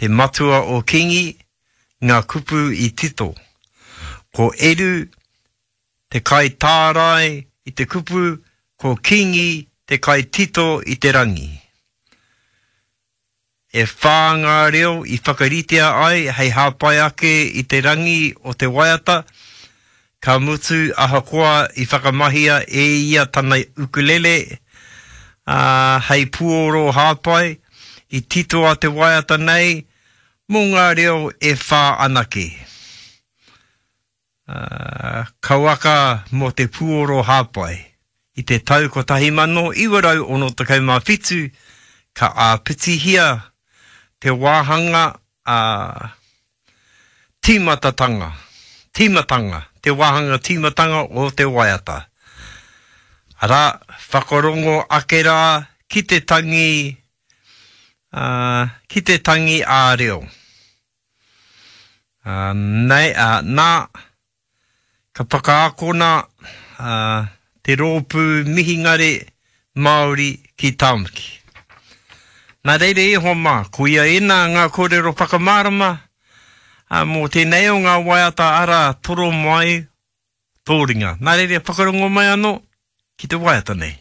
Te matua o Kingi, ngā kupu i tito. Ko Eru te kaitārai i te kupu, ko Kingi te kaitito i te rangi. E whā ngā reo i whakaritea ai hei hāpai ake i te rangi o te waiata, ka mutu ahakoa i whakamahia e ia tana ukulele, ā, hei puoro hāpai, i titoa te waiata nei mō ngā reo e whā anake. Ā, kauaka mō te puoro hāpai. I te tau 1967 ka āpitihia te wāhanga a tīmatatanga, tīmatanga, te wāhanga tīmatanga o te waiata. Arā, whakarongo ake rā ki te tangi, ā, ki te tangi ā-reo. Ā, nei, ā, nā, ka whakaakona, ā, te rōpū mihingare Māori ki Tāmaki. Nā reira e hoa mā, koia ēnā ngā kōrero whakamārama, ā, mō tēnei o ngā waiata arā, toro mai tō ringa. Nā reira, whakarongo mai anō ki te waiata nei.